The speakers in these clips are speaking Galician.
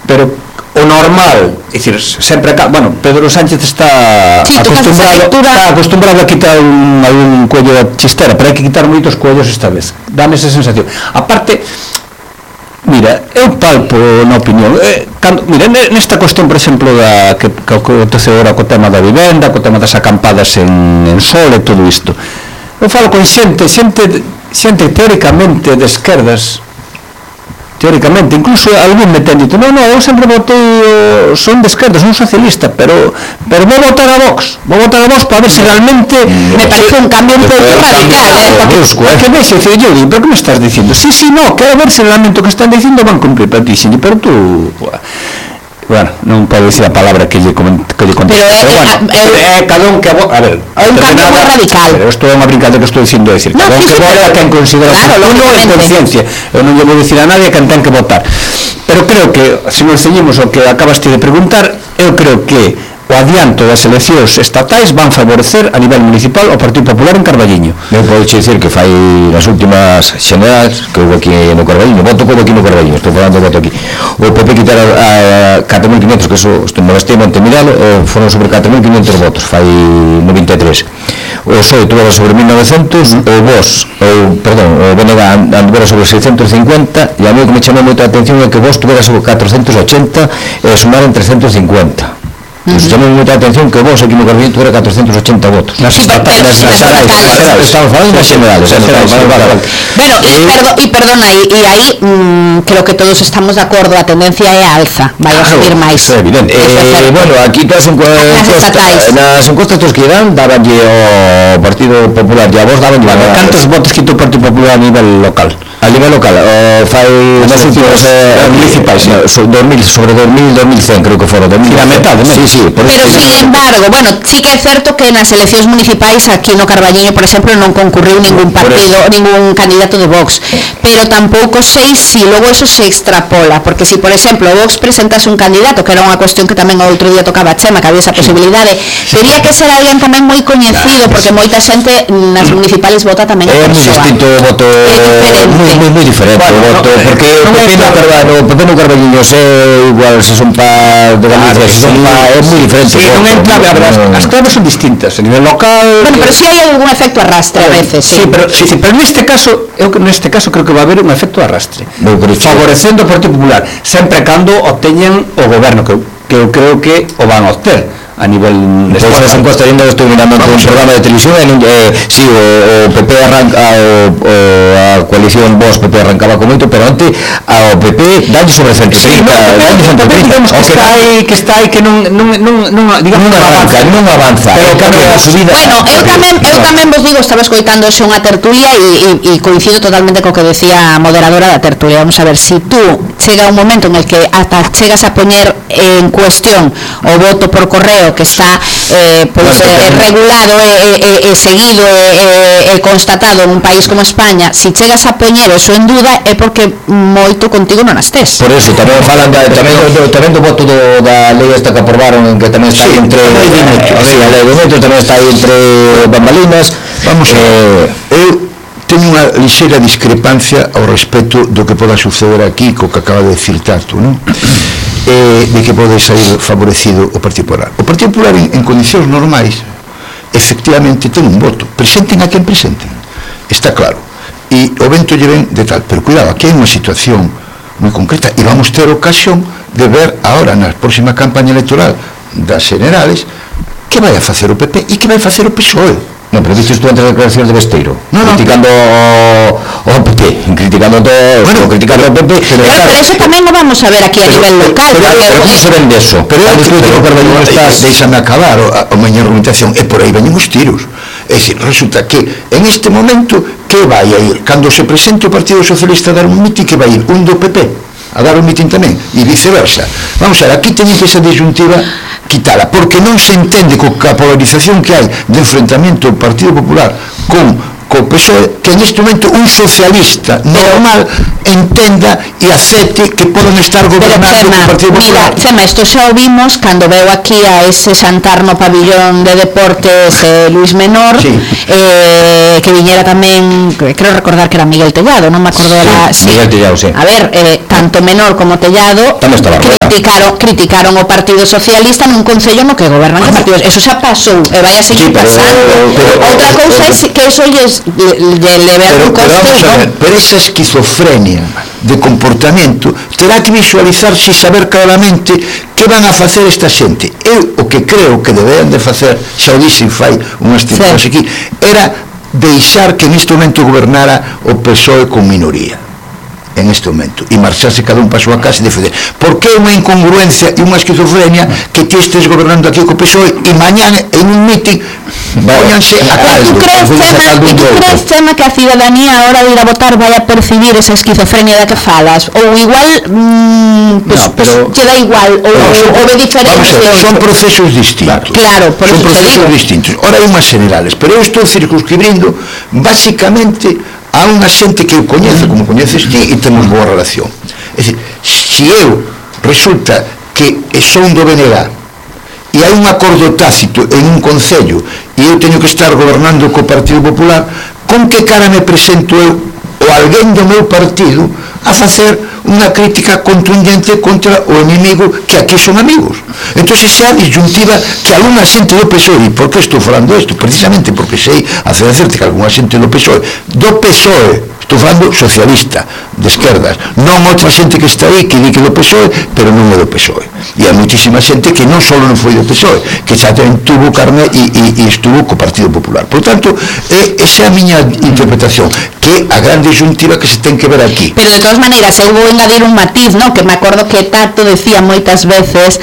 pero o normal, é dicir, sempre bueno, Pedro Sánchez está acostumbrado a quitar algún cuello da chistera, pero hai que quitar moitos cuellos esta vez, dame esa sensación. Aparte, mira, eu palpo na opinión, mira, nesta cuestión, por exemplo, que acontece agora co tema da vivenda, co tema das acampadas en Sol e todo isto, eu falo con xente teóricamente de esquerdas, teóricamente, incluso algún me ten dito, non, eu sempre votei, son de esquerda, son socialista, pero vou votar a Vox para ver se realmente me parece un cambio un pouco radical, que ves, eu digo, pero que me estás dicindo? Sí, no, quero ver se realmente o que están dicindo van cumplir, pero tú, bueno, non podo dicir a palabra que lle conteste, pero bueno, cada un que a ver, é un cambio moi radical, pero isto é unha brincadeira que estou dicindo, decir, cada un que vota quen considera oportuno en conciencia, eu non lle vou dicir a nadie quen ten que votar, pero creo que, se nos ceñimos o que acabaste de preguntar, eu creo que o adianto das eleccións estatais van favorecer a nivel municipal o Partido Popular en Carballiño. Eu podo dicir que fai nas últimas xenerais que houve aquí no Carballiño, voto como aquí no Carballiño, estou falando de voto aquí, o PP quitar a 4.500, que eso me bastei Montemiralo, foron sobre 4.500 votos, fai 93. O PSOE tuvo sobre 1.900, o VOS, o BNG anduvera sobre 650, e a mí que me chamou moita atención é que VOS tuvera sobre 480 e sumaron 350. Nos chamou moita atención que vos aquí no Carballiño tuviera 480 votos. Nas estatais, estamos falando das generales. Bueno, e perdona, e aí creo que todos estamos de acordo, a tendencia é a alza, vai a subir máis. Isso é evidente. Bueno, aquí nas encuestas que dan, dabanlle ao Partido Popular e a vos dabanlle... Cantos votos quitou o Partido Popular a nivel local? A nivel local, fai nas últimas municipais, sobre 2.100 creo que foron, a metade, sí, pero sin embargo, bueno, sí que é certo que nas eleccións municipais aquí no Carballiño, por exemplo, non concurriu ningún partido, ningún candidato de Vox, pero tampouco sei se logo eso se extrapola, porque se, por exemplo, Vox presentase un candidato, que era unha cuestión que tamén o outro día tocaba a Chema, que había esa posibilidade, teria que ser alguén tamén moi coñecido, porque moita xente nas municipales vota tamén a persoa. É moi distinto o voto, moi diferente o voto, porque o PP no Carballiño é igual se son pa de Galicia, se son pa, é moi diferente. Sí, non é clave, as claves son distintas a nivel local. Bueno, pero si hai algún efecto arrastre a veces. Sí, pero neste caso creo que va a haber un efecto arrastre, favorecendo o Partido Popular, sempre cando obteñan o goberno, que eu creo que o van a obter a nivel de esa encuesta. Yo estoy mirando un programa de televisión, sí, o PP arranca, a coalición Vox PP arrancaba con moito, pero antes ao PP dalle sobre 130, digamos que está aí que non avanza, pero cambia a subida. Bueno, eu tamén vos digo, estaba escoitando unha tertulia e coincido totalmente co que decía a moderadora da tertulia. Vamos a ver, si tú chega un momento en el que ata chegas a poñer en cuestión o voto por correo que está regulado e seguido e constatado en un país como España, si chegas a poñer eso en duda é porque moito contigo non estés. Por eso, tamén falan tamén do voto da lei esta que aprobaron, en que tamén está entre a lei do voto tamén está aí entre bambalinas. Vamos a eu teño unha lixeira discrepancia ao respecto do que poda suceder aquí co que acaba de decir Tato, non? De que pode sair favorecido o Partido Popular. O Partido Popular en condicións normais efectivamente ten un voto, presenten a quen presenten, está claro, e o vento lle ven de tal, pero cuidado, aquí hai unha situación moi concreta e vamos ter ocasión de ver ahora na próxima campaña electoral das generales que vai a facer o PP e que vai facer o PSOE. Non, pero viste tú entre as declaracións de Besteiro, criticando o PP, criticando o PP, pero eso tamén lo vamos a ver aquí a nivel local. Pero como se ven deso? Pero deixame acabar a miña argumentación, e por aí veñen os tiros. É dicir, resulta que en este momento que vai a ir, cando se presente o Partido Socialista a dar un mitin, que vai ir un do PP a dar un mitin tamén, e viceversa. Vamos a ver, aquí teñen que esa disyuntiva quitala, porque non se entende coa polarización que hai de enfrentamento do Partido Popular con co PSOE, que neste momento un socialista normal entenda e acepte que poden estar gobernando o Partido Popular. Mira, Chema, isto xa o vimos cando veu aquí a ese xantar no pabillón de deportes Luis Menor, que viñera tamén, creo recordar que era Miguel Tellado, non me acordo Miguel Tellado, sí. A ver, tanto Menor como Tellado tamén estaba criticaron o Partido Socialista nun concello no que gobernan os partidos, eso xa pasou e vai a seguir pasando. Outra cousa é que eso lle leve a un coste, pero esa esquizofrenia de comportamento terá que visualizarse e saber claramente que van a facer esta xente. Eu o que creo que deberan de facer, xa o dixen fai unhas temporadas aquí, era deixar que neste momento gobernara o PSOE con minoría en este momento e marcharse cada un para a súa casa e defender, porque é unha incongruencia e unha esquizofrenia que ti estes gobernando aquí co PSOE e mañán en un meeting póñanse a caldo. E tú crees, Chema, que a ciudadanía a hora de ir a votar vai a percibir esa esquizofrenia da que falas, ou igual che dá igual, ou de diferente? Son procesos distintos. Claro, por son procesos distintos. Ora hai unhas generales, pero eu estou circunscribindo basicamente a unha xente que eu coñece, como coñeces ti, e temos boa relación. É dicir, se eu resulta que son do BNG e hai un acordo tácito en un concello e eu teño que estar gobernando co Partido Popular, con que cara me presento eu ou alguén do meu partido a facer unha crítica contundente contra o enemigo que aquí son amigos? Entón se xa a disyuntiva que algunha xente do PSOE, e por que estou falando isto? Precisamente porque sei hacerte que algunha xente do PSOE, estou falando socialista, de esquerdas, non outra xente que está aí que di que do PSOE, pero non é do PSOE. E hai moitísima xente que non só non foi do PSOE, que xa tamén tuvo carne e estuvo co Partido Popular. Por tanto, esa é a miña interpretación, que a gran disyuntiva que se ten que ver aquí. Pero de todas maneiras, eu vou engadir un matiz, non? Que me acordo que Tato decía moitas veces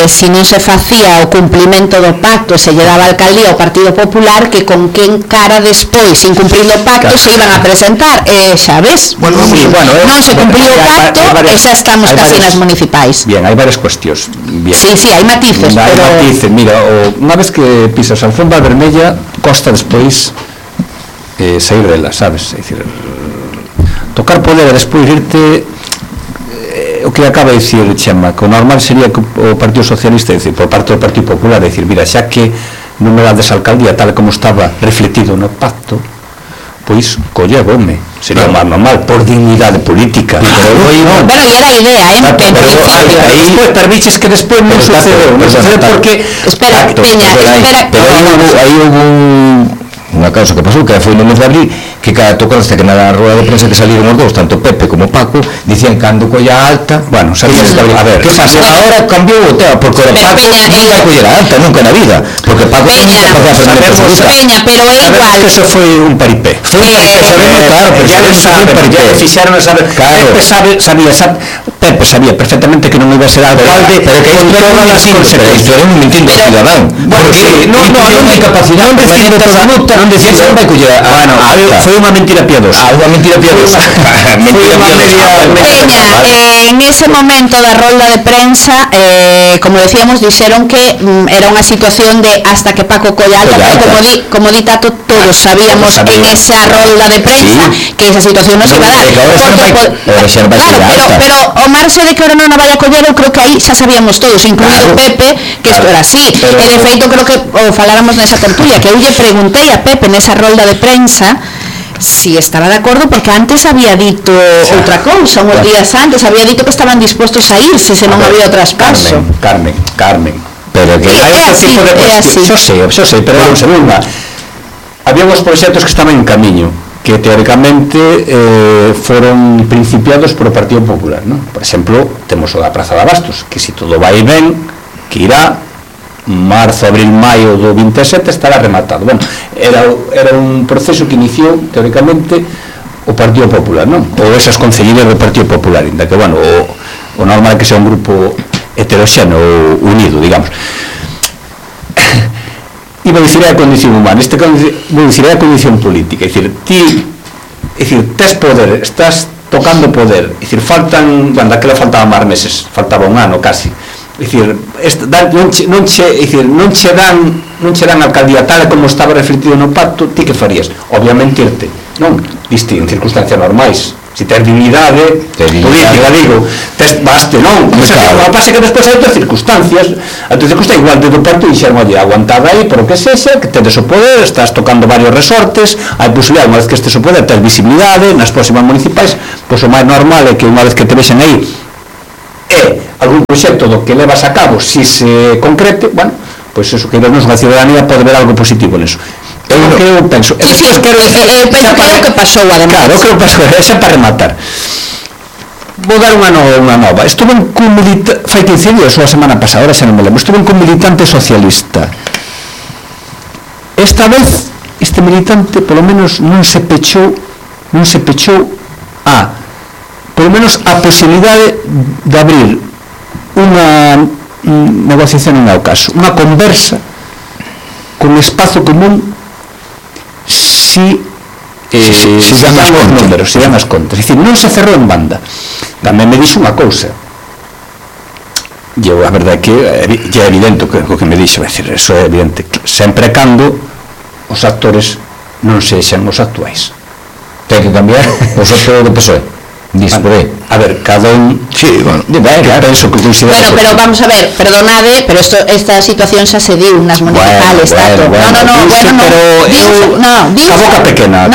se non se facía o cumplimento do pacto, se lle daba a alcaldía ao Partido Popular, que con quen cara despois, sin cumprir o pacto, se iban a presentar. Xa ves, non se cumpliu o pacto e xa estamos casi nas municipais. Bien, hai varias cuestións. Sí, hai matices, pero... Mira, unha vez que pisas a alfombra vermella, costa despois sair dela, sabes? É dicir, tocar poder e despois irte... o que acaba de dicir Chema, que o normal sería que o Partido Socialista, é dicir, por parte do Partido Popular, é dicir, mira, xa que non me dades alcaldía tal como estaba refletido no pacto, pois collevome, sería máis normal, por dignidade política. Bueno, e era a idea, aí permites que despois non sucedeu, porque... Espera, Peña, pero aí houve unha causa que pasou, que foi no mes de abril, que cada tocaste que na rueda de prensa que salieron os dous, tanto Pepe como Paco, dicían cando colla alta, bueno, sabías que a ver, que pasa? Agora cambiou o tema, porque o Paco non vai coller a alta nunca na vida, porque Paco Peña, pero é igual. Que eso foi un paripé. Foi un paripé, sabemos, claro, pero ya fixaron a saber. Pepe sabía perfectamente que non iba a ser alcalde, pero que con todas as consecuencias. Era un mentindo cidadán, porque non hai capacidade non decir que non vai coller a alta. Foi unha mentira piadosa. Unha mentira piadosa. Peña, en ese momento da rolda de prensa, como decíamos, dixeron que era unha situación de hasta que Paco colla alta, pero como di Tato, todos sabíamos en esa rolda de prensa que esa situación non se iba a dar. Pero o marxe de que ahora non a vai a coller, eu creo que aí xa sabíamos todos, incluído Pepe, que isto era así. E de feito creo que faláramos nesa tertulia, que eu lle preguntei a Pepe nesa rolda de prensa si estaba de acordo, porque antes había dito outra cousa, uns días antes había dito que estaban dispostos a irse se non había o traspaso. Carmen, pero que hai outro tipo de cuestión. Xo sei, pero vamos a ver, había uns proxectos que estaban en camiño, que teóricamente foron principiados por o Partido Popular, non? Por exemplo, temos o da Praza de Abastos, que se todo vai ben, que irá marzo, abril, maio do 27 estará rematado. Bueno, era un proceso que iniciou teóricamente o Partido Popular, non? Ou esas concelleiras do Partido Popular, inda que, bueno, o normal é que sea un grupo heteroxeno ou unido, digamos. Iba a dicir a condición humana, vou dicir a condición política, é dicir, tes poder, estás tocando poder, é dicir, faltan, bueno, daquela faltaban máis meses, faltaba un ano casi, é dicir, non che dan alcaldía tal como estaba refletido no pacto, ti que farías? Obviamente irte, non? Viste, en circunstancias normais, se tes dignidade política, digo, baste, non? O sea, o pasa que despois hai outras circunstancias, igual de do pacto dixeron, oye, aguantada aí por o que sexa, que tedes o poder, estás tocando varios resortes, hai posibilidade, unha vez que estes o poder, tes visibilidade nas próximas municipais, pois o máis normal é que unha vez que te vexen aí e algún proxecto do que levas a cabo, si se concrete, bueno, pois eso, que vernos unha ciudadanía pode ver algo positivo neso. Eu penso, penso que é o que pasou, además. Claro, o que pasou, esa para rematar. Vou dar unha nova. Estuve cun militante, fai 15 días ou a semana pasada, ahora xa non me lembro, estuve cun militante socialista. Esta vez, este militante, polo menos, non se pechou polo menos a posibilidade de abrir unha negociación en o caso, unha conversa con espazo común si dan os números, si dan as contas. É dicir, non se cerrou en banda. Tamén me dixo unha cousa, e a verdade é que é evidente o que me dixo, é dicir, eso é evidente, sempre cando os actores non sexan os actuais. Ten que cambiar os actores do PSOE. A ver, cada un... Sí, bueno, penso que considera... Bueno, pero vamos a ver, perdonade, pero esta situación xa se diu nas municipales, bueno, diuse, a boca pequena.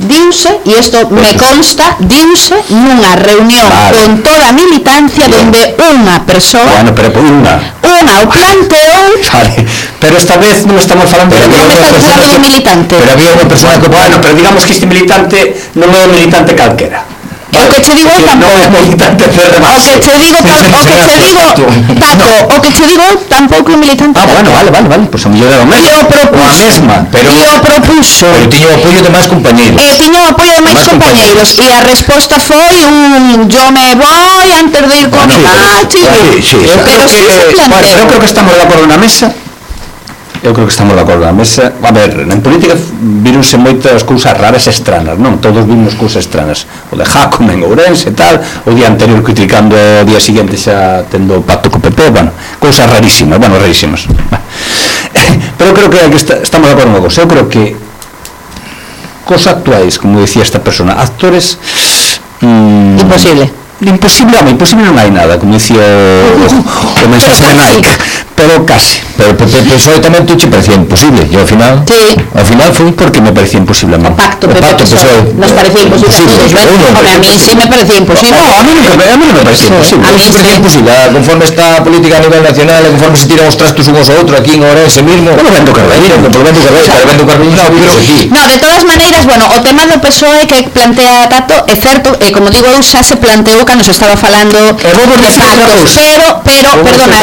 Diuse, e isto me consta, diuse nunha reunión con toda a militancia donde unha persoa... Bueno, pero unha o planteou... Pero esta vez non estamos falando de un militante. Pero había unha persona que... Bueno, pero digamos que este militante non é un militante calquera. O que che digo tampouco. O que che digo tampouco é militante. Bueno, vale, pois a mellor era o mesmo. E o propuxo. Pero tiño o apoio de máis compañeiros. E a resposta foi yo me voy antes de ir con eu creo que estamos de acordo na mesa. A ver, en política vironse moitas cousas raras e estranas, non? Todos vimos cousas estranas. O de Jacome en Ourense e tal, o día anterior criticando o día seguinte xa tendo pacto co PP, bueno, cousas rarísimas. Pero creo que estamos de acordo unha cousa. Eu creo que cos actuais, como decía esta persona, actores... Imposible non hai nada, como dicía o mensaje de Nike, pero casi. Pero o PSOE tamén te parecía imposible, e ao final foi porque me parecía imposible a mí. O pacto PSOE nos parecía imposible a mí sí me parecía imposible. A mí non me parecía imposible. A mí me parecía imposible, conforme está a política a nivel nacional, conforme se tiran os trastos unhos a outro aquí en Ourense mismo. Polo vendo Carballiño, no, de todas maneiras, bueno, o tema do PSOE que plantea Tato é certo, e como digo eu, xa se planteou cando se estaba falando de pactos, pero perdona,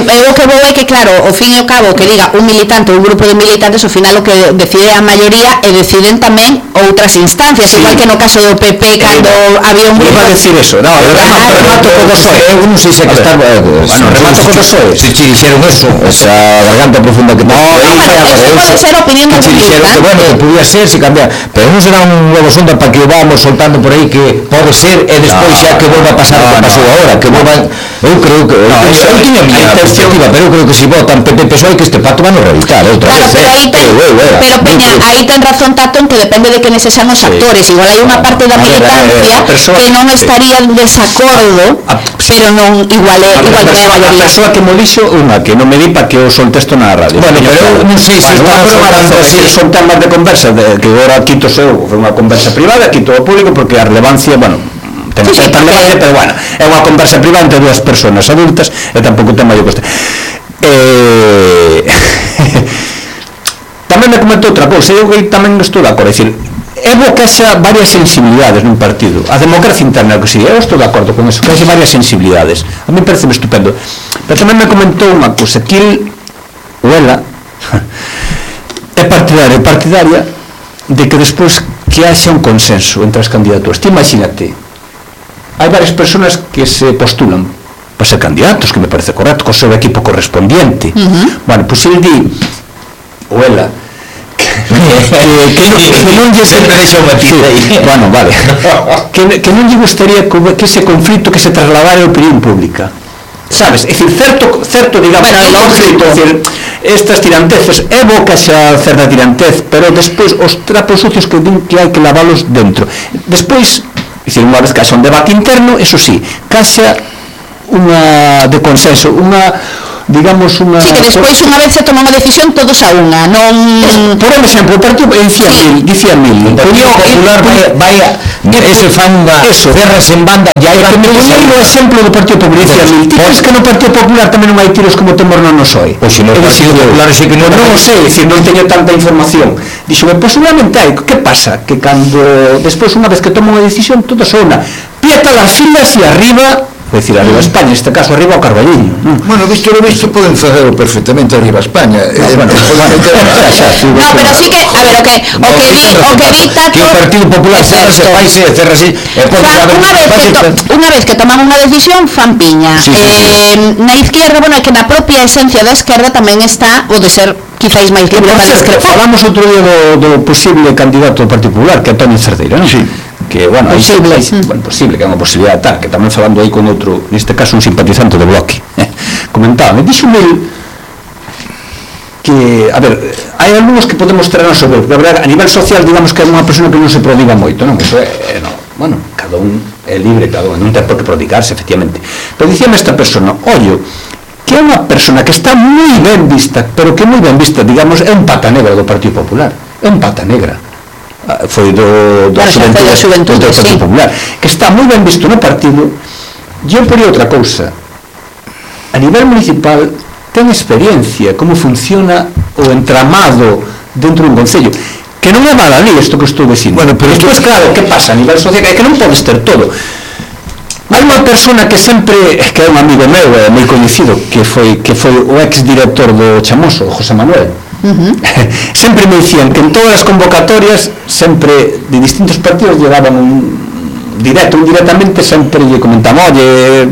eu o que vou é que claro, ao fin e ao cabo que diga un militante ou un grupo de militantes, ao final o que decide a maioría e deciden tamén outras instancias, igual que no caso do PP cando había un grupo... Iba a decir eso, remato co do PSOE, eu non sei se que está... Bueno, remato co do PSOE, se dixeron eso, esa garganta profunda que... Eso pode ser opinión do militante. Bueno, que podía ser, se cambiar, pero non será un nuevo sonda para que o vamos soltando por aí que pode ser e despois xa que volva a pasar o que pasou agora, que volvan... Eu creo que... Eu tiña a miña perspectiva, pero eu creo que se votan PP PSOE que este pacto van a realizar outra vez. Pero Peña, aí ten razón Tato en que depende de quenes sexan os actores. Igual hai unha parte da militancia que non estaría en desacordo, pero non igual que a maioría. A persoa que mo dixo, unha que non me di para que eu solte isto na radio. Bueno, pero eu non sei se son temas de conversa, que agora quito eu, foi unha conversa privada, quito ao público porque a relevancia, bueno, ten certa relevancia, pero bueno, é unha conversa privada entre dúas persoas adultas e tampouco ten maior coste. Tamén me comentou outra cousa, eu tamén estou de acordo, é dicir, é bo que haxa varias sensibilidades nun partido, a democracia interna que si, eu estou de acordo con eso, que haxa varias sensibilidades, a mí parece estupendo, pero tamén me comentou unha cousa, que ela é partidaria de que despois que haxa un consenso entre as candidaturas. Ti imagínate, hai varias personas que se postulan para ser candidatos, que me parece correcto, co seu equipo correspondiente. Bueno, pois el di, ou ela, que non lle sempre deixa o matiz aí. Bueno, vale. Que non lle gustaría que ese conflito que se trasladara a opinión pública. Sabes? É dicir, certo, digamos, conflito, estas tiranteces, é bo que xa certa tirantez, pero despois os trapos sucios que din que hai que lavalos dentro. Despois, dicir, unha vez que haxa un debate interno, eso sí, que haxa unha de consenso, unha digamos unha... Sí, que despois unha vez se toma unha decisión todos a unha, non... Por exemplo, o partido dicía mil, o Partido Popular vai ese fanga cerras en banda, ya hai o exemplo do Partido Popular, dicía mil, ti crees que no Partido Popular tamén non hai tiros como temos no Nosoe? Pois se no Partido Popular sei que non o sei, dicir, non teño tanta información. Dixo, posiblemente hai, que pasa? Que cando, despois unha vez que toma unha decisión, todos a unha, pieta las filas e arriba, é dicir, arriba a España, neste caso arriba ao Carballiño. Bueno, visto lo visto, poden facelo perfectamente arriba a España. No, pero sí que, a ver, o que dicta que o Partido Popular cerrase, unha vez que toman unha decisión, fan piña. Na izquierda, bueno, é que na propia esencia da esquerda tamén está o de ser quizáis máis libre para discrepar. Falamos outro día do posible candidato do Partido Popular, que é Antonio Cerdeira, non? Sí. Que, bueno, posible, que é unha posibilidade tal, que tamén falando aí con outro, neste caso un simpatizante do Bloque, comentaba, me dixo que, a ver, hai algúns que podemos traernos sobre, porque a verdade, a nivel social, digamos que é unha persona que non se prodiga moito, non? Eso é, bueno, cada un é libre, cada un non ten por que prodigarse, efectivamente. Pero dicíame esta persona, ollo, que é unha persona que está moi ben vista, pero que moi ben vista, digamos, é un pata negra do Partido Popular, é un pata negra. Foi do Xuventude do Partido Popular, que está moi ben visto no partido. Eu por outra cousa, a nivel municipal ten experiencia como funciona o entramado dentro dun concello, que non é baladí isto que estou dicindo. Bueno, pero despois, claro, que pasa a nivel social, é que non podes ter todo. Hai unha persona que sempre, que é un amigo meu, moi coñecido, que foi o ex-director do Chamoso, José Manuel. Sempre me dicían que en todas as convocatorias, sempre de distintos partidos llegaban un directo, indirectamente, sempre lle comentaban, oye,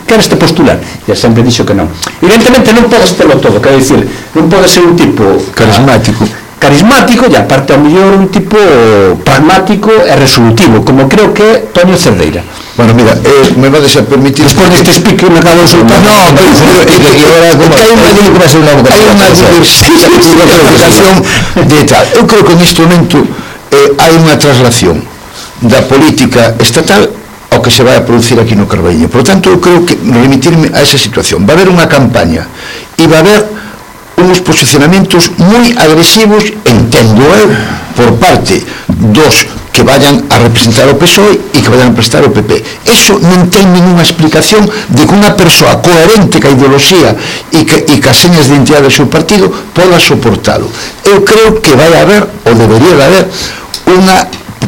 queres te postular? E sempre dixo que non. Evidentemente non podes terlo todo, quero dicir, non podes ser un tipo carismático e aparte ao mellor un tipo pragmático e resolutivo, como creo que é Toño Cerdeira. Bueno, mira, me vades a permitir... Despois deste speaker me acabo de soltar. No, pero hai unha diversificación de tal. Eu creo que neste momento hai unha traslación da política estatal ao que se vai a producir aquí no Carballiño. Por lo tanto, eu creo que remitirme a esa situación. Va a haber unha campaña e va a haber unos posicionamentos moi agresivos, entendo eu, por parte dos que vayan a representar o PSOE e que vayan a representar o PP. Eso non ten ninguna explicación de que unha persoa coherente ca ideoloxía e ca señas de identidade do seu partido poda soportalo. Eu creo que vai haber, ou debería de haber,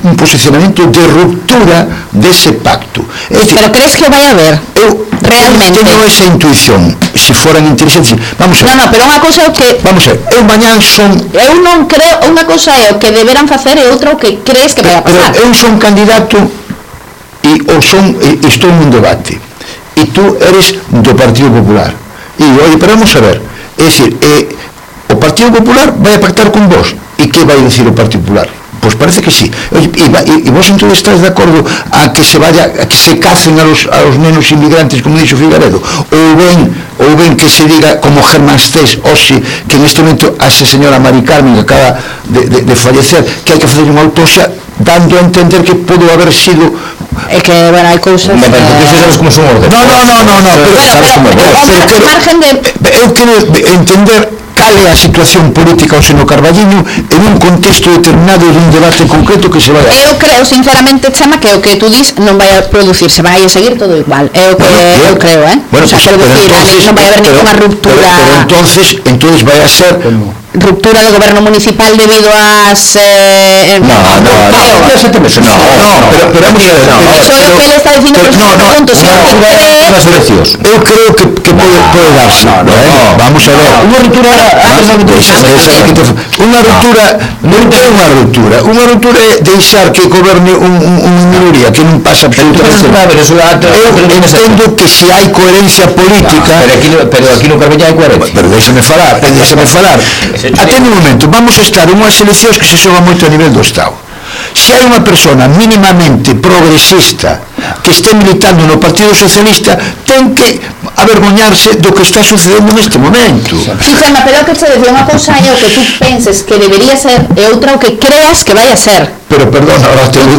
un posicionamento de ruptura dese pacto. Decir, pero crees que vai haber? Eu realmente teño esa intuición, se foran inteligentes. Vamos a ver. No, pero unha cousa é o que... Vamos a ver, eu mañán son... Eu non creo, unha cousa é o que deberán facer e outra o que crees que vai a pasar. Pero eu son candidato e estou nun debate e tú eres do Partido Popular e oye, pero vamos a ver, é dicir, o Partido Popular vai a pactar con vos e que vai dicir o Partido Popular? Pois parece que sí. E vos entón estás de acordo a que se vaya, a que se cacen a los nenos inmigrantes, como dixo Figaredo, ou ben que se diga como Germán Stés hoxe, que neste momento a esa señora Mari Carmen que acaba de fallecer, que hai que facer unha autopsia, dando a entender que pode haber sido... É que, bueno, hai cousas... Porque sabes como son orden. No, pero margen de... Eu quero entender cal é a situación política hoxe no Carballiño en un contexto determinado de un debate concreto que se vai a... Eu creo, sinceramente, Chama, que o que tú dis non vai a producirse, vai a seguir todo igual. É o que eu creo, Bueno, o sea, pues, non vai a haber ninguna ruptura... Pero entonces vai a ser... Ruptura do goberno municipal debido ás... pero vamos a ver, Eso é o que ele está dicindo por ese punto. Eu creo que pode darse. Vamos a ver. Unha ruptura Unha ruptura é deixar que goberne unha minoría que non pasa absolutamente nada. Eu entendo que se hai coherencia política... Pero aquí no Carballiño hai coherencia. Pero déxame falar. Atende un momento, vamos a estar en unhas eleccións que se xogan moito a nivel do Estado. Se hai unha persona mínimamente progresista que este militando no Partido Socialista, ten que avergoñarse do que está sucedendo neste momento. Sí, Chama, pero que te decía unha cousa é o que tú penses que debería ser e outra o que creas que vai a ser. Pero, perdón, ahora te vou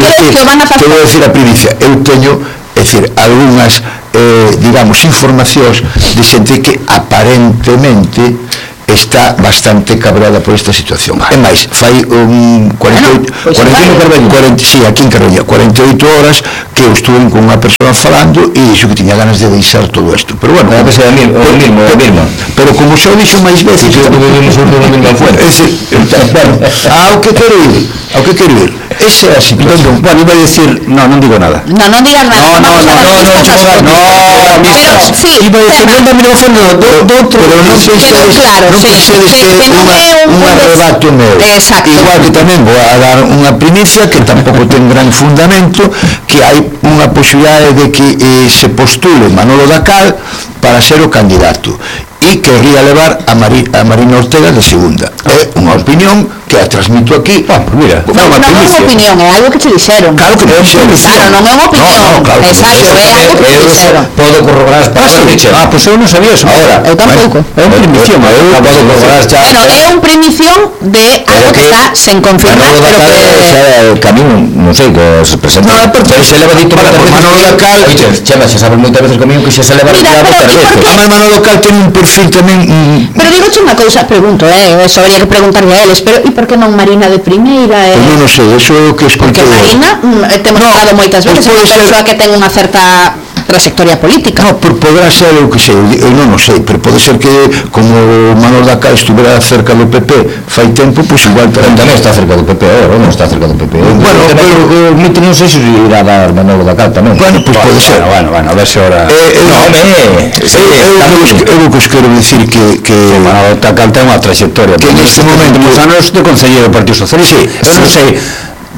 decir a primicia. Eu teño, é decir, algunhas digamos, informacións de xente que aparentemente está bastante cabrada por esta situación. É máis, fai un 48 sí, aquí en Carreña, 48 horas que eu estuve con unha persona falando e dixo que tiña ganas de deixar todo isto. Pero bueno, pero como xa o dixo máis veces, o que quero ir, esa é a situación. Bueno, iba a decir, non digo nada. Non digas nada. No, iba a decir, non da micrófono do outro, pero non pensedes que un arrebato meu. Igual que tamén vou a dar unha primicia que tampouco ten gran fundamento, que hai unha posibilidade de que se postule Manolo Dacal para ser o candidato e querría levar a Marina Ortega de segunda. É unha opinión que a transmito aquí. Mira, non é unha opinión, é algo que te dixeron. Claro que me dixeron. Claro, non é unha opinión. Exacto, é algo que te dixeron. Podo corroborar as palabras que dixeron. Pois eu non sabía eso. Eu tampouco. É unha primición. Bueno, é unha primición de algo que está sen confirmar, pero que camino, non sei, que se presenta. Non, é porque se leva dito para Manolo Dacal. Chema, xa sabes moitas veces comigo que xa se leva dito para veces. A Manolo Dacal ten un perfil tamén. Pero digoche unha cousa, pregunto, eso habría que preguntarle a eles, pero e por que non Marina de primeira? Pois non sei, eso é o que escoitei. Porque Marina, temos falado moitas veces, é unha persoa que ten unha certa trayectoria política. No, poderá ser o que sei, eu non o sei, pero pode ser que como Manolo Dacal estuvera cerca do PP fai tempo, pois igual tamén está cerca do PP agora, non está cerca do PP. Bueno, pero mito non sei se irá dar Manolo Dacal tamén. Bueno, pois pode ser. Bueno, a ver se ahora... Eu o que os quero dicir que Manolo Dacal ten unha trayectoria que neste momento nos anos de concelleiro do Partido Socialista. Eu non sei,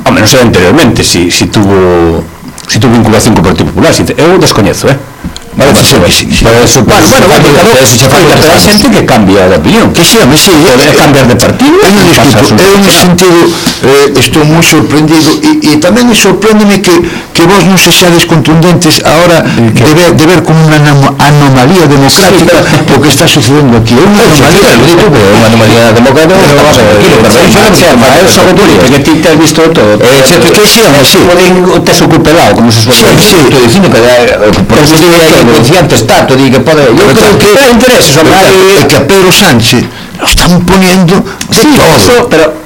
non sei anteriormente si tuvo vinculación co Partido Popular, eu descoñezo, Parece ser que sí. Pero hai xente que cambia de opinión, que sí, poder cambiar de partido. Eu nesse sentido estou moi sorprendido e tamén me sorpréndeme que vos non sexades contundentes ahora de ver como unha anomalía democrática o que está sucedendo aquí. É unha anomalía democrática, pero vamos a ver, que ti te has visto todo. Que sí, tes o cupelado, como se suele decir. Estou dicindo que inconsciente está, te digo que pode... Eu creo que é interés, que a Pedro Sánchez lo están poniendo de todo. Pero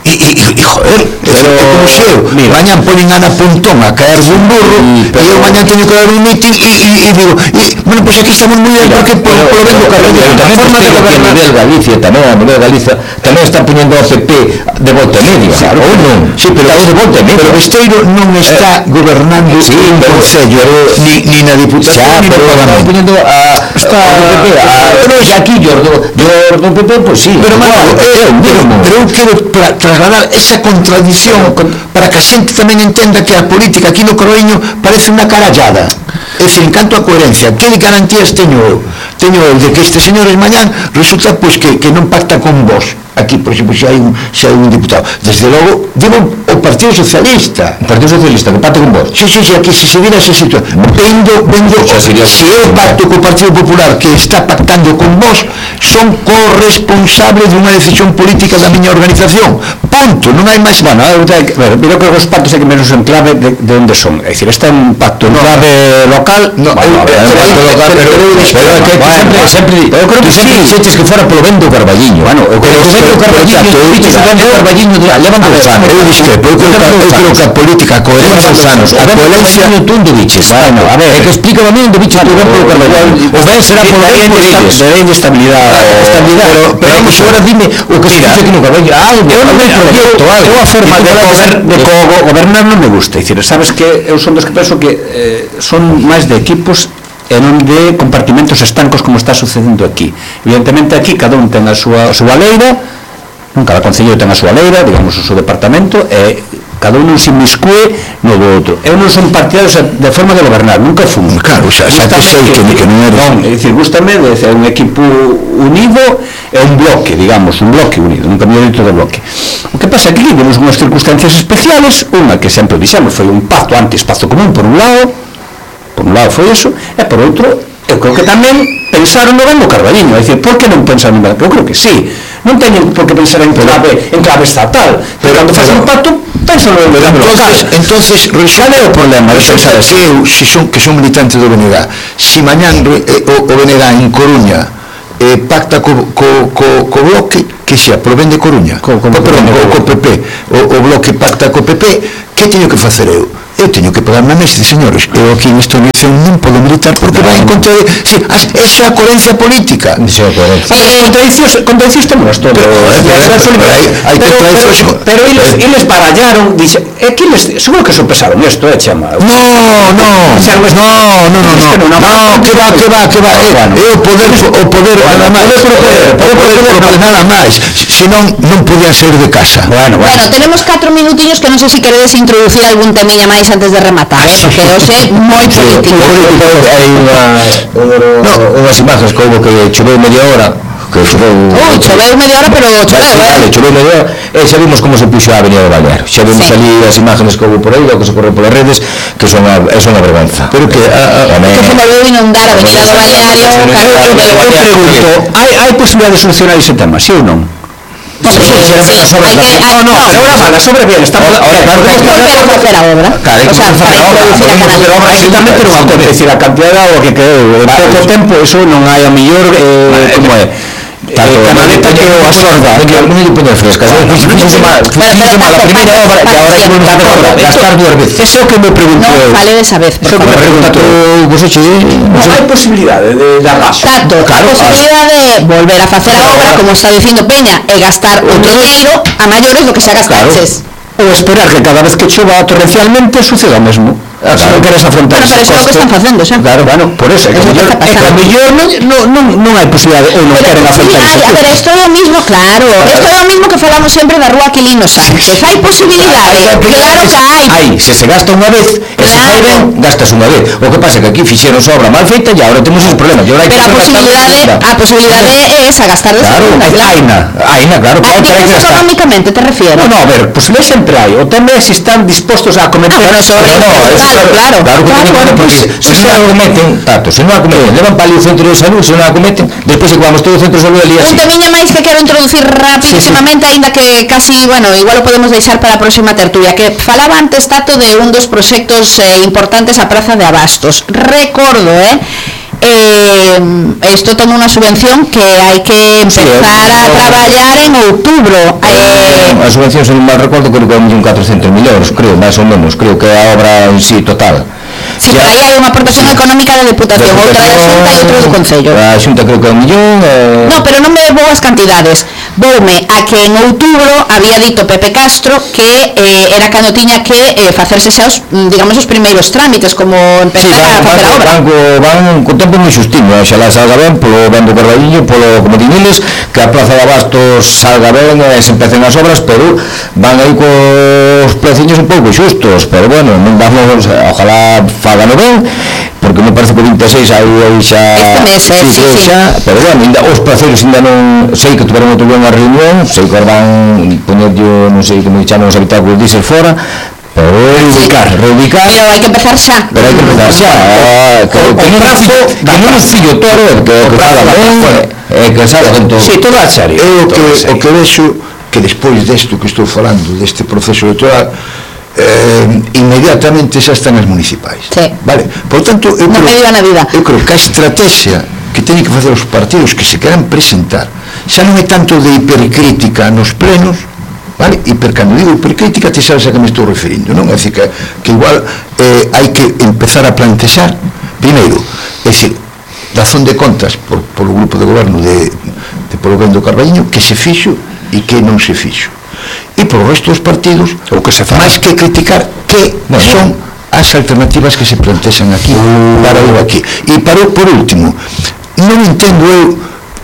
e joder, como xeo, mañan ponen Ana Pontón a caer dun burro e eu mañan teño que dar un mitin e digo, bueno, pois aquí estamos moi bien porque polo ben do Carreño tamén forma de gobernar. A nivel Galicia tamén está poñendo ao PP de volta media, ou non? Sí, pero de volta media. Pero Besteiro non está gobernando un concello ni na Diputación ni no Parlamento. Está poñendo pero aquí do PP, pois sí. Pero eu quero trasladar esa contradición para que a xente tamén entenda que a política aquí no Carreño parece unha carallada. É dicir, en canto a coherencia, que garantías teño eu? Teño eu de que estes señores mañán resulta pois que non pacta con vos aquí, por exemplo, se hai un diputado. Desde logo, digo o Partido Socialista. O Partido Socialista, que pacta con vos? Sí, aquí se vira esa situación. Se eu pacto co Partido Popular que está pactando con vos, son corresponsables dunha decisión política da miña organización. Punto, non hai máis. Bueno, eu creo que os pactos hai que menos en clave de onde son. É dicir, este é un pacto en clave local. No, sempre eu creo que sempre dixetes que fora polo ben do Carballiño. Bueno, eu creo que o Carballiño levan 2 anos. Eu creo que a política, a coherencia dos anos, a coherencia tú onde diches. Bueno, a ver, é que explícame a mí onde diches tu ben polo Carballiño. O ben será polo ben de estabilidade. Pero vamos, agora dime o que se dice aquí no Carballiño. Eu a forma de gobernar non me gusta. É dicir, sabes que eu son dos que penso que son máis de equipos e non de compartimentos estancos como está sucedendo aquí. Evidentemente aquí cada un ten a súa leira, cada concello ten a súa leira, digamos o seu departamento, e cada un non se inmiscue no do outro. Eu non son partidario de forma de gobernar, nunca fun. Claro, xa que sei que non eres. Non, é dicir, gústame de ser un equipo unido e un bloque, digamos, un bloque unido, nunca me dito de bloque. O que pasa é que aquí temos unhas circunstancias especiales, unha que sempre dixemos foi un pacto anti-espazo común, por un lado foi eso, e por outro, eu creo que tamén pensaron no ben do Carballiño, é dicir, por que non pensaron no ben? Eu creo que sí, non teñen por que pensar en clave estatal, pero cando faz un pacto Penso no entonces cal é o problema? Que son militantes do BNG, si mañán o BNG en Coruña pacta co bloque, que xa provén de Coruña, co PP, o bloque pacta co PP, que teño que facer eu? Eu teño que pagarme a mesa, señores, eu aquí nesta unión non podo militar porque vai en contra de... Eso é a coherencia política. Contradiccións temos todo. Pero eles barallaron, seguro que sopesaron isto, chama. No, que va, é o poder nada máis, senón non podían sair de casa. Bueno, tenemos 4 minutillos que non sei se queredes introducir algún temilla máis antes de rematar, porque hoxe moi político. Hai unhas imagens que houve que choveu media hora, choveu media hora, pero choveu media hora, e xa vimos como se puxo a avenida do Balneario, xa vimos ali as imágenes que houve por aí, o que se corre polas redes, que son a vergonza. Pero que se volveu inundar a avenida do Balneario. Eu pregunto, hai posibilidade de solucionar ese tema, si ou non? Sobre bien, estamos ahora hacer a obra. Exactamente non acontece a cantidad de agua que quedou en pouco tempo, eso non hai a mellor como é canaleta que o absorba, que non lle pone fresca. A primeira obra que agora hai que gastar 2 veces. Eso que me pregunto eu. Vale desa vez, por favor. Non hai posibilidade de dar gasto. Claro, a posibilidade de volver a facer a obra, como está dicindo Peña, e gastar outro dinheiro a maiores do que xa gastaches. Ou esperar que cada vez que chova torrencialmente suceda o mesmo. Se non queres afrontar ese coste. Pero iso é o que están facendo xa. Claro, por eso é que a mellor non hai posibilidade ou non queren afrontar ese coste. Pero isto é o mismo, claro, isto é o mismo que falamos sempre da rúa Aquilino Sánchez. Hai posibilidade, claro que hai. Se gasta unha vez, e se fai ben, gastas unha vez. O que pasa é que aquí fixeron obra mal feita e agora temos ese problema. Pero a posibilidade é esa, gastar de segunda. Aina, claro. Económicamente, te refiero? No, a ver, posibilidade sempre hai. O tema é se están dispostos a cometer... Claro, porque se non acometen, levan para ali o centro de salud, se non acometen, despois se vamos todo o centro de salud ali así. Un temiña máis que quero introducir rapidísimamente, aínda que casi, igual o podemos deixar para a próxima tertulia, que falaba antes Tato de un dos proxectos importantes a Praza de Abastos. Recordo, isto toma unha subvención que hai que empezar a traballar en outubro. A subvención, se non mal recordo, creo que é 1.400.000 euros, creo, máis ou menos, creo que a obra en sí total. Si, pero aí hai unha aportación económica da Deputación, outra da Xunta e outra do Concello. A Xunta creo que é 1 millón. No, pero non me vou as cantidades. Voume a que en outubro había dito Pepe Castro que era cando tiña que facerse xa os, digamos, os primeiros trámites, como empezar a facer a obra. Van con tempo moi xustiño, xa la salga ben, polo ben do Carballiño, polo como dineles, que a Praza de Abastos salga ben e se empecen as obras, pero van aí cos preciños un pouco xustos, pero bueno, non vamos, ojalá fagano ben, porque me parece que o 26 aí xa... Este mes, sí. Pero bueno, os praceros ainda non... Sei que tuveron outro unha reunión, sei que van poñer non sei como chaman os habitáculos diésel fora, pero reubicar. Pero hai que empezar xa. Que non o fillo todo, que faga ben, que sabe con todo. Si, todo a serio. O que vexo que despois desto que estou falando, deste proceso electoral, inmediatamente xa están as municipais. Vale? Por tanto, eu creo que a estrategia que teñen que facer os partidos que se queran presentar xa non é tanto de hipercrítica nos plenos, vale? Cando digo hipercrítica, te sabes a que me estou referindo, non? É dicir, que igual hai que empezar a plantexar primeiro, é dicir, razón de contas polo grupo de goberno de polo ben do Carballiño, que se fixo e que non se fixo, e polo resto dos partidos, o que se faz, máis que criticar que son as alternativas que se plantexan aquí para ir aquí. E por último, non entendo eu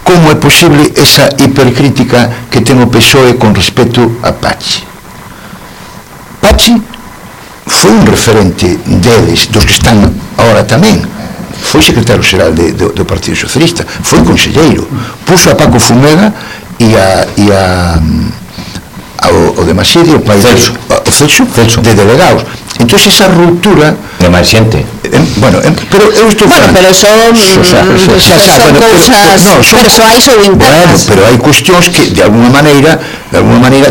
como é posible esa hipercrítica que ten o PSOE con respecto a Pachi. Pachi foi un referente deles, dos que están ahora tamén, foi secretario xeral do Partido Socialista, foi conselleiro, puxo a Paco Fumega e o de Maside, o pai o Celso de delegados, Entonces esa ruptura de máis xente. Pero eu estou pero son cousas persoais ou internas. Pero hai cuestións que de alguna maneira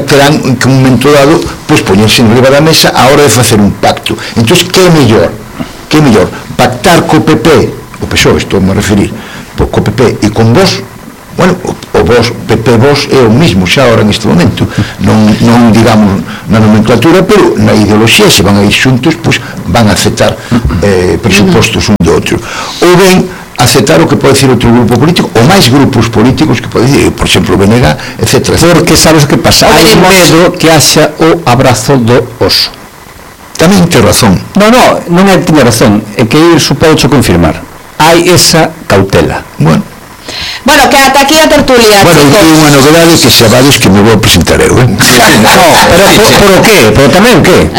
terán que un momento dado pois poñerse en riba da mesa a hora de facer un pacto. Entonces que é mellor pactar co PP, o PSOE estou a referir, co PP e con vos. Bueno, o vos, PP vos é o mismo xa ahora neste momento, non digamos na nomenclatura, pero na ideoloxía se van a ir xuntos, pois van a aceptar presupostos un do outro, ou ben aceptar o que pode decir outro grupo político ou máis grupos políticos que pode decir, por exemplo, Venega, etc. Porque sabes o que pasa, hai medo que haxa o abrazo do oso. Tamén ten razón. Non é que ten razón, é que ir supócho confirmar, hai esa cautela. Bueno, que ata aquí a tertulia, chicos. Bueno, unha novedade que sabades que me vou a presentar eu, pero qué? Pero tamén que?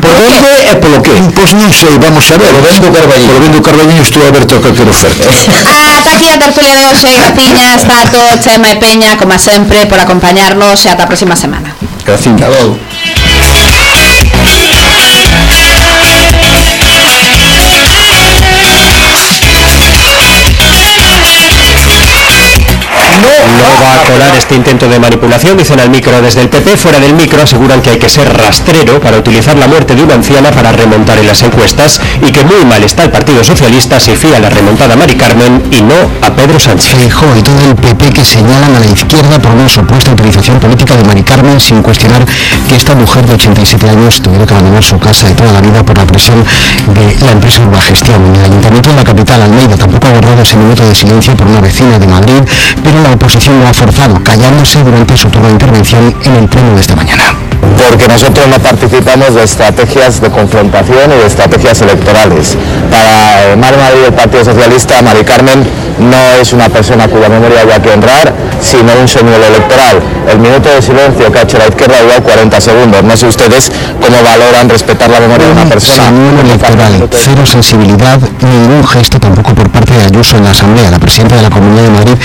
Por onde e polo que? Pois non sei, vamos a ver. Polo vendo Carballiño estou aberto a calquer oferta. Ata aquí a tertulia de hoxe, graciñas, Tato, Chema e Peña, como sempre, por acompañarnos e ata a próxima semana. Graciña. No va a colar este intento de manipulación, dicen al micro desde el PP. Fuera del micro aseguran que hay que ser rastrero para utilizar la muerte de una anciana para remontar en las encuestas y que muy mal está el Partido Socialista si fía la remontada a Mari Carmen y no a Pedro Sánchez. Feijóo y todo el PP que señalan a la izquierda por una supuesta utilización política de Mari Carmen, sin cuestionar que esta mujer de 87 años tuviera que abandonar su casa de toda la vida por la presión de la empresa Urbagestión. En el Ayuntamiento de la capital, Almeida, tampoco ha guardado ese minuto de silencio por una vecina de Madrid, pero la oposición lo ha forzado, callándose durante su turno de intervención en el pleno de esta mañana. Porque nosotros no participamos de estrategias de confrontación y de estrategias electorales. Para Mar Madrid, el Partido Socialista, Mari Carmen no es una persona cuya memoria haya que honrar, sino un señuelo electoral. El minuto de silencio que ha hecho la izquierda ha durado 40 segundos. No sé ustedes cómo valoran respetar la memoria de una persona. Señuelo electoral, cero sensibilidad, ningún gesto tampoco por parte de Ayuso en la Asamblea. La presidenta de la Comunidad de Madrid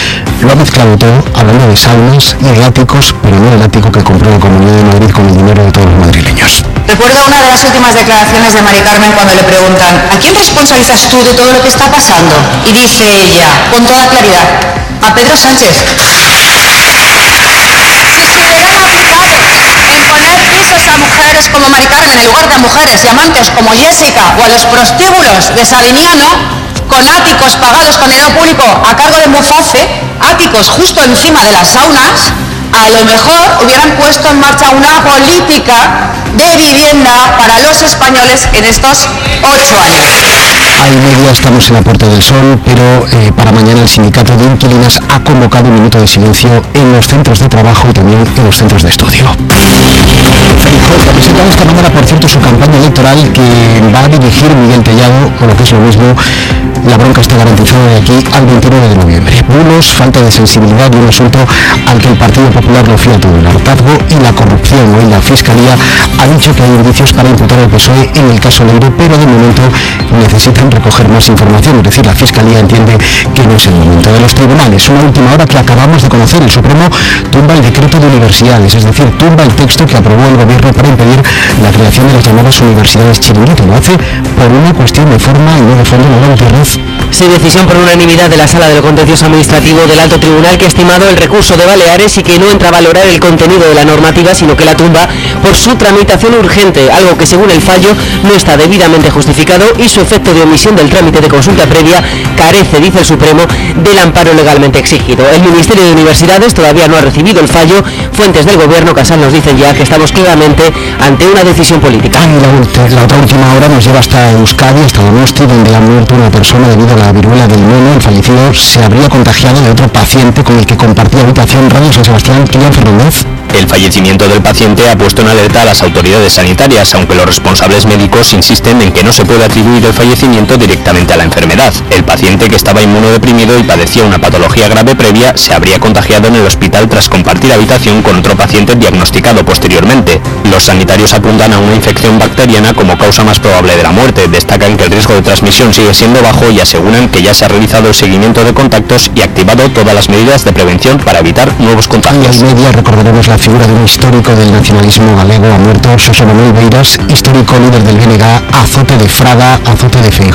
lo ha mezclado todo, hablando de saunas y de áticos, pero no del ático que compró la Comunidad de Madrid con el dinero de todos los madrileños. Recuerdo una de las últimas declaraciones de Mari Carmen cuando le preguntan ¿a quién responsabilizas tú de todo lo que está pasando? Y dice ella, con toda claridad, a Pedro Sánchez. Si se hubieran aplicado en poner pisos a mujeres como Mari Carmen en lugar de a mujeres y amantes como Jessica o a los prostíbulos de Savinano, con áticos pagados con dinero público a cargo de Muface, áticos justo encima de las saunas, a lo mejor hubieran puesto en marcha una política de vivienda para los españoles en estos 8 años. Almería, estamos en la Puerta del Sol, pero para mañana el sindicato de inquilinas ha convocado un minuto de silencio en los centros de trabajo y también en los centros de estudio. Feijóo ha presentado esta mañana, por cierto, su campaña electoral que va a dirigir Miguel Tellado, o lo que es lo mismo, la bronca está garantizada de aquí al 29 de noviembre. Bulos, falta de sensibilidad y un asunto al que el Partido Popular lo fía todo, el hartazgo y la corrupción. Hoy la Fiscalía ha dicho que hay indicios para imputar al PSOE en el caso Leiro, pero de momento necesitan recoger más información, es decir, la Fiscalía entiende que no es el momento. De los tribunales, una última hora que acabamos de conocer, el Supremo tumba el decreto de universidades, es decir, tumba el texto que aprobó el Gobierno para impedir la creación de las llamadas universidades chiringuito. Lo hace por una cuestión de forma y no de fondo. Lola Gutiérrez. Sí, decisión por unanimidad de la Sala del Contencioso Administrativo del Alto Tribunal, que ha estimado el recurso de Baleares y que no entra a valorar el contenido de la normativa, sino que la tumba por su tramitación urgente, algo que según el fallo no está debidamente justificado y su efecto de omisión del trámite de consulta previa carece, dice el Supremo, del amparo legalmente exigido. El Ministerio de Universidades todavía no ha recibido el fallo. Fuentes del Gobierno Casal nos dicen ya que estamos claramente ante una decisión política. La otra última hora nos lleva hasta Euskadi, hasta Donosti, donde ha muerto una persona debido a la viruela del mono. El fallecido se habría contagiado de otro paciente con el que compartía habitación. Radio San Sebastián, Kilian Fernández. El fallecimiento del paciente ha puesto en alerta a las autoridades sanitarias, aunque los responsables médicos insisten en que no se puede atribuir el fallecimiento directamente a la enfermedad. El paciente, que estaba inmunodeprimido y padecía una patología grave previa, se habría contagiado en el hospital tras compartir habitación con otro paciente diagnosticado posteriormente. Los sanitarios apuntan a una infección bacteriana como causa más probable de la muerte. Destacan que el riesgo de transmisión sigue siendo bajo y aseguran que ya se ha realizado el seguimiento de contactos y activado todas las medidas de prevención para evitar nuevos contagios. Y al media recordaremos la figura de un histórico del nacionalismo galego. Ha muerto Xosé Manuel Beiras, histórico líder del BNG, azote de Fraga, azote de Feijóo.